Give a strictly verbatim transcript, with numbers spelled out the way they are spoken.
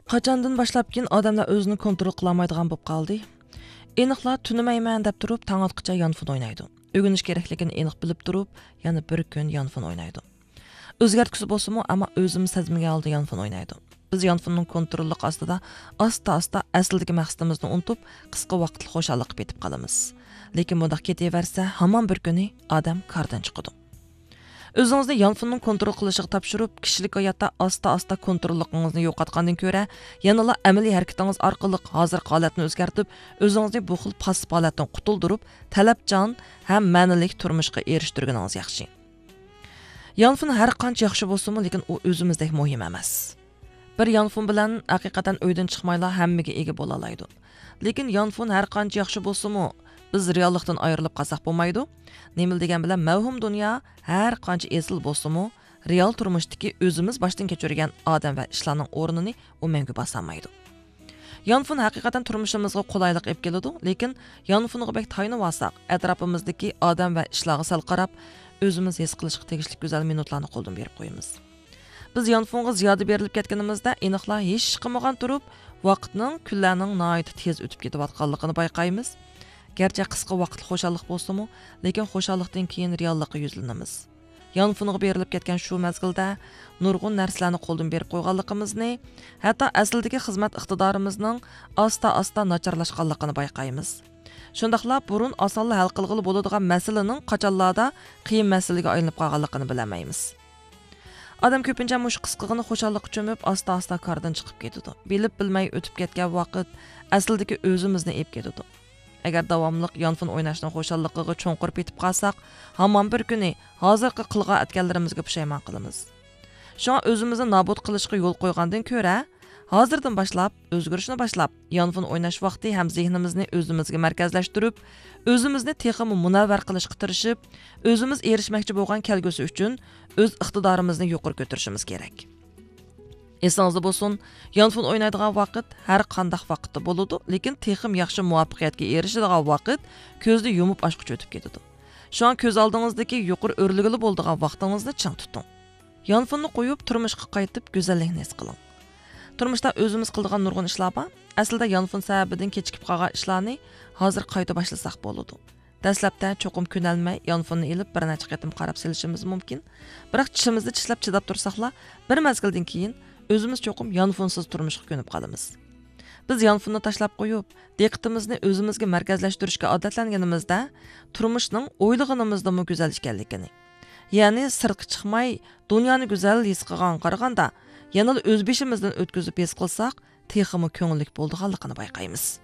قاچاندىن باشلاپكىن ئادەملەر ئۆزىنى كونترول قىلالمايدىغان بولۇپ قالدى؟ ئېنىقلا تۈنىمەيمەن دەپ تۇرۇپ، تاڭ ئاتقىچە يانفون ئوينايدۇ. ئۆگىنىش كېرەكلىكىنى ئېنىق بىلىپ تۇرۇپ، يەنە بىر كۈن يانفون ئوينايدۇ. ئۆزگەرتكۈسى بولسىمۇ، ئەمما ئۆزىمۇ سەزمىگەن ھالدا يانفون ئوينايدۇ. بىز يانفوننىڭ كونتروللۇقى ئاستىدا ئاستا-ئاستا ئەسلىدىكى مەقسىتىمىزنى ئۇنتۇپ، قىسقا ۋاقىتلىق خۇشاللىققا پېتىپ قالىمىز. لېكىن بۇنداق كېتىۋەرسە، ھامان بىر كۈنى ئادەم كاردىن چىقىدۇ. ئۆزىڭىزنى يانفوننىڭ كونترول قىلىشىغا تاپشۇرۇپ، كىشىلىك ھاياتتا ئاستا-ئاستا كونتروللۇقىڭىزنى يوقاتقاندىن كۆرە، يەنىلا ئەمەلىي ھەرىكىتىڭىز ئارقىلىق ھازىرقى ھالەتنى ئۆزگەرتىپ، ئۆزىڭىزنى بۇ خىل پاسسىپ ھالەتتىن قۇتۇلدۇرۇپ، تەلەپچان ھەم مەنىلىك تۇرمۇشقا ئېرىشتۈرگىنىڭىز ياخشى. يانفون ھەر قانچە ياخشى بولسىمۇ، لېكىن ئۇ ئۆزىمىزدەك مۇھىم ئەمەس. بىر يانفون بىلەن ھەقىقەتەن ئۆيدىن چىقمايلا ھەممىگە ئىگە بولالايدۇ. لېكىن يانفون ھەر قانچە ياخشى بولسىمۇ، بىز رېئاللىقتىن ئايرىلىپ قالساق بولمايدۇ. نېمىلا دېگەن بىلەن، مەۋھۇم دۇنيا ھەر قانچە ئېسىل بولسىمۇ، رېئال تۇرمۇشتىكى ئۆزىمىز باشتىن كەچۈرگەن ئادەم ۋە ئىشلارنىڭ ئورنىنى ئۇ مەڭگۈ باسالمايدۇ. يانفون ھەقىقەتەن تۇرمۇشىمىزغا قولايلىق ئېلىپ كېلىدۇ، لېكىن يانفونغا بەك تايىنىۋالساق، ئەتراپىمىزدىكى ئادەم ۋە ئىشلارغا سەل قاراپ، ئۆزىمىز ھېس قىلىشقا تېگىشلىك گۈزەل مىنۇتلارنى قولدىن بېرىپ قويىمىز. بىز يانفونغا زىيادە بېرىلىپ كەتكىنىمىزدە، ئېنىقلا ھېچ قىلمىغان تۇرۇپ، ۋاقىتنىڭ، كۈنلەرنىڭ ناھايىتى تېز ئۆتۈپ كېتىۋاتقانلىقىنى بايقايمىز. گەرچە قىسقا ۋاقىتلىق خۇشاللىق بولسىمۇ، لېكىن خۇشاللىقتىن كېيىن رېئاللىققا يۈزلىنىمىز. يانفونغا بېرىلىپ كەتكەن شۇ مەزگىلدە نۇرغۇن نەرسىلەرنى قولدىن بېرىپ قويغانلىقىمىزنى، ھەتتا ئەسلىدىكى خىزمەت ئىقتىدارىمىزنىڭ ئاستا-ئاستا ناچارلاشقانلىقىنى بايقايمىز. شۇنداقلا بۇرۇن ئاسانلا ھەل قىلغىلى بولىدىغان مەسىلىنىڭ قاچانلاردا قىيىن مەسىلىگە ئايلىنىپ قالغانلىقىنى بىلەلمەيمىز. ئادەم كۆپىنچە مۇشۇ قىسقىغىنە خۇشاللىققا چۆمۈپ، ئاستا-ئاستا كاردىن چىقىپ كېتىدۇ. بىلىپ-بىلمەي ئۆتۈپ كەتكەن ۋاقىت ئەسلىدىكى ئۆزىمىزنى ئېلىپ كېتىدۇ. ئەگەر داۋاملىق يانفون ئويناشنىڭ خۇشاللىقىغا چوڭقۇر پېتىپ قالساق، ھامان بىر كۈنى ھازىرقى قىلغان ئەتكەنلىرىمىزگە پۇشايمان قىلىمىز. شۇڭا ئۆزىمىزنى نابۇت قىلىشقا يول قويغاندىن كۆرە، ھازىردىن باشلاپ، ئۆزگىرىشنى باشلاپ، يانفون ئويناش ۋاقتى ھەم زېھنىمىزنى ئۆزىمىزگە مەركەزلەشتۈرۈپ، ئۆزىمىزنى تېخىمۇ مۇنەۋۋەر قىلىشقا تىرىشىپ، ئۆزىمىز ئېرىشمەكچى بولغان كەلگۈسى ئۈچۈن ئۆز ئىقتىدارىمىزنى يۇقىرى كۆتۈرۈشىمىز كېرەك. ئېسىڭىزدە بولسۇن، يانفون ئوينايدىغان ۋاقىت ھەر قانداق ۋاقىتتا بولىدۇ، لېكىن تېخىمۇ ياخشى مۇۋەپپەقىيەتكە ئېرىشىدىغان ۋاقىت كۆزنى يۇمۇپ ئاچقۇچە ئۆتۈپ كېتىدۇ. شۇڭا كۆز ئالدىڭىزدىكى يۇقىرى ئۆرلىگىلى بولىدىغان ۋاقتىڭىزنى چىڭ تۇتۇڭ. يانفوننى قويۇپ، تۇرمۇشقا قايتىپ، گۈزەللىكنى ھېس قىلىڭ. تۇرمۇشتا ئۆزىمىز قىلىدىغان نۇرغۇن ئىشلار بار. ئەسلىدە يانفون سەۋەبىدىن كېچىكىپ قالغان ئىشلارنى ھازىر قايتا باشلىساق بولىدۇ. دەسلەپتە چوقۇم كۆنەلمەي، يانفوننى ئېلىپ، بىر نەچچە قېتىم قاراپ سېلىشىمىز مۇمكىن. بىراق، چىشىمىزنى چىشلەپ چىداپ تۇرساقلا، بىر مەزگىلدىن كېيىن ئۆزىمىز چوقۇم يانفونسىز تۇرمۇشقا كۆنۈپ قالىمىز. بىز يانفوننى تاشلاپ قويۇپ، دىققىتىمىزنى ئۆزىمىزگە مەركەزلەشتۈرۈشكە ئادەتلەنگىنىمىزدە، تۇرمۇشنىڭ ئويلىغىنىمىزدىنمۇ گۈزەل ئىكەنلىكىنى، يەنى سىرتقا چىقماي، دۇنيانى گۈزەل ھېس قىلغانغا قارىغاندا، يەنىلا ئۆز بېشىمىزدىن ئۆتكۈزۈپ ھېس قىلساق، تېخىمۇ كۆڭۈللۈك بولىدىغانلىقىنى بايقايمىز.